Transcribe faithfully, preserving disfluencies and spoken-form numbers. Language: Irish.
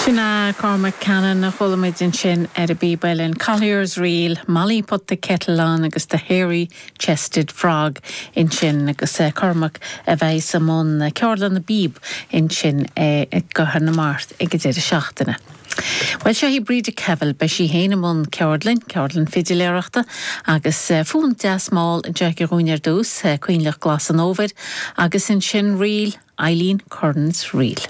Sin é Cormac Cannon a chuala muid ansin ar an bpíob uilleann Collier's Reel, Molly put the kettle on agus the hairy chested frog ansin agus uh, Cormac a bheidh i mbun ceardlann na bpíob ansin uh, i gCathair na Mart ag an deireadh seachtaine. Well seo í Breda Kevel beidh sí féin i mbun ceardlann, ceardlann fidiléireachta agus uh, fonn deas mall anseo dúinn ar dtús, uh, Coinleach Glas an Fhómhair agus ansin ríl Eileen Curran's Reel.